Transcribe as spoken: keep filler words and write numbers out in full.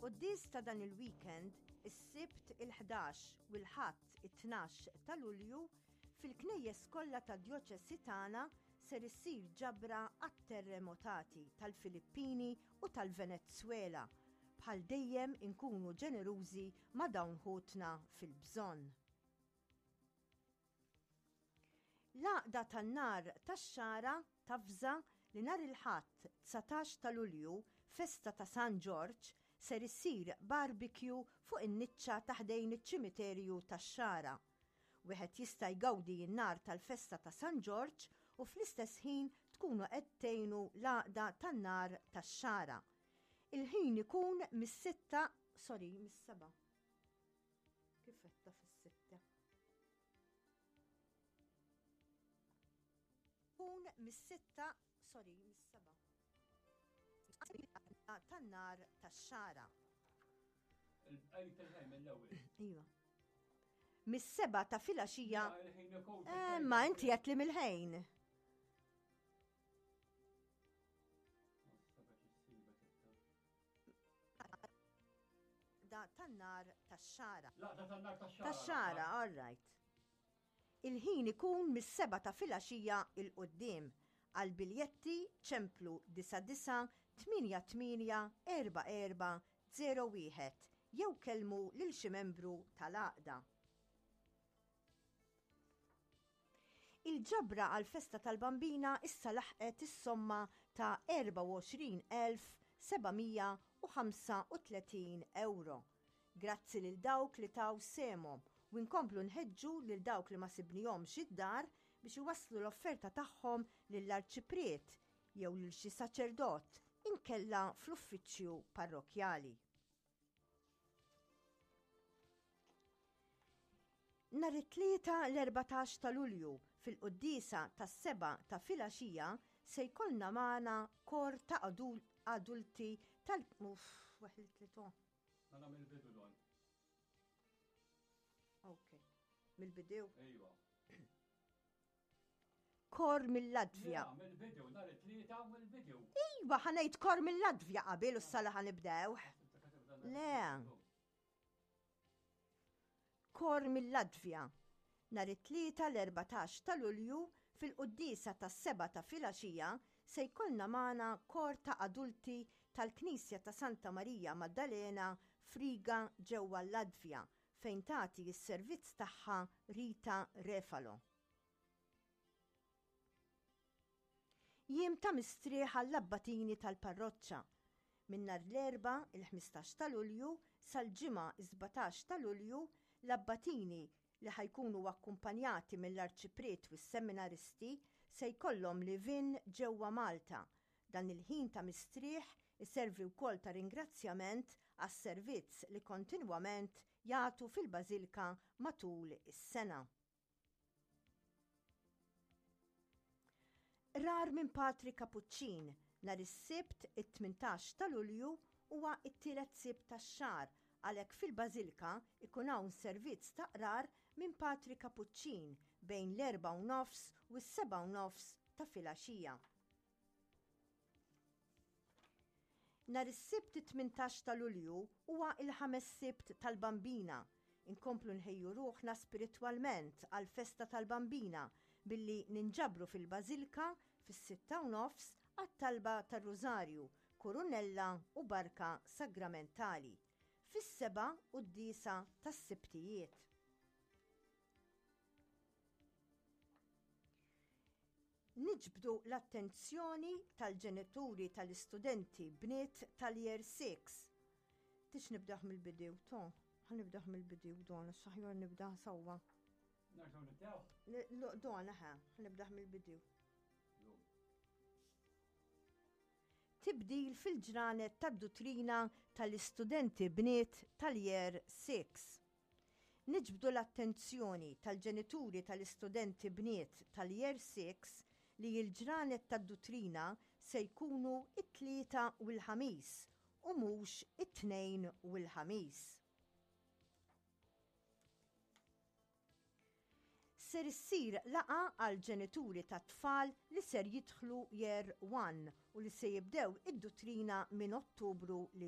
Fil-quddies ta' dan il-weekend, is-Sibt il-ħdax u l-Ħadd it-tnax ta' Lulju, fil-knejjes kollha tad-djoċesi tagħna ser issir ġabra għat-terremotati tal-Filippini u tal-Venezwela. Bħal dejjem inkunu ġenerużi ma' dawn ħutna fil-bżonn. L-Għaqda tan-Nar tax-Xagħra tavża li nhar il-Ħadd dsatax ta' Lulju, festa ta' San Ġorġ, ser issir barbecue fuq in-niċċa ta' ħdejn iċ-ċimiterju tax-Xagħra. Wieħed jista' jgawdi n-nar tal-festa ta' San Ġorġ u fl-istess ħin tkunu qed tgħinu l-Għaqda tan-Nar tax-Xagħra. Il-ħin ikun mis-sitta, sorry, mis-seba'. Kif għedtha fis-sitta? Kun mis-sitta, sorry, mis-seba'. Tan-nar tax-xara. Iva. Mis-seba' ta' filgħaxija. Eh, ma inti qed li mill-ħin. Da tan-nar tax-xara. Laqda tan-nar tax-xara. Tax-xara, all right. Il-ħin ikun mis-sebgħa ta' filgħaxija 'l quddiem. Għall-biljetti ċemplu disa' disa' tmienja tmienja erba' erba' zero wieħed jew kellmu lil xi membru tal-għaqda. Il-ġabra għall-festa tal-Bambina issa laħqet is-somma ta' erbgħa u għoxrin elf seba' mija u ħamsa u tletin ewro. Grazzi lil dawk li taw sehemhom u nkomplu nħeġġu lil dawk li ma sibnihomx id-dar biex iwasslu l-offerta tagħhom lill-Arċipriet jew lil xi saċerdot inkella fl-uffiċċju parrokkjali. Nhar it-Tlieta l-erbatax ta' Lulju fil-quddiesa tas-sebgħa ta' filgħaxija se jkollna magħna kor ta' adulti tal- Uff, weħlitli to. Mela mill-bidu don. Ok. Mill-bidu? Ejwa. Kor mill-Latvja. Mill-bidu, nhar it-tlieta mill-bidu. Iva, ħanejt kor mill-Latvja qabel u s-sala ħanibdew. Le. Kor mill-Latvja. Nhar it-Tlieta l-erbatax ta' Lulju fil-quddiesa tas-sebgħa ta' filgħaxija se jkollna magħna kor ta' adulti tal-Knisja ta' Santa Marija Maddalena f'Riga ġewwa l-Latvja fejn tagħti s-servizz tagħha Rita Refalo. Jiem ta' mistrieħ għall-abbatini tal-parroċċa. Minn nhar l-Erbgħa, il-ħmistax ta' Lulju, sal-Ġimgħa, is-sbatax ta' Lulju, l-abbatini, li ħa jkunu akkumpanjati mill-Arċipriet u s-seminaristi, se jkollhom live-in ġewwa Malta. Dan il-ħin ta' mistrieħ iservi wkoll ta' ringrazzjament għas-servizz li kontinwament jagħtu fil-Bażilka matul is-sena. Qrar minn Patri Kapuċċin nhar is-Sibt it-tmintax ta' Lulju huwa t-tielet Sibt tax-xahar għalhekk fil-Bażilka jkun hawn servizz ta' qrar minn Patri Kapuċċin bejn l-erbgħa u nofs u s-sebgħa u nofs ta' filgħaxija. Nhar is-Sibt it-tmintax ta' Lulju huwa l-ħames Sibt tal-Bambina. Inkomplu nħejju ruħna spiritwalment għall-festa tal-Bambina billi ninġabru fil-Bażilka fis-sitta u nofs għat-talba tar-Rużarju, Kurunella u Barka Sagramentali. Fis-sebgħa quddiesa tas-Sibtijiet. Niġbdu l-attenzjoni tal-ġenituri tal-istudenti bniet tal-Year Six. Tix nibdaħ mill-bidu, to, ħa nibdaħ mill-bidu, don, saħjor nibda sewwa. Nerġgħu nibdew? Don, ħa, ħa nibdaħ mill-bidu. Tibdil fil-ġranet tad-duttrina tal-istudenti bniet tal-Year Six. Niġbdu l-attenzjoni tal-ġenituri tal-istudenti bniet tal-Year Six li l-ġranet tad-duttrina se jkunu t-Tlieta u l-Ħamis u mhux it-Tnejn u l-Ħamis. Ser issir laqgħa għall-ġenituri tat-tfal li ser jidħlu Year One u li se jibdew id-duttrina minn Ottubru li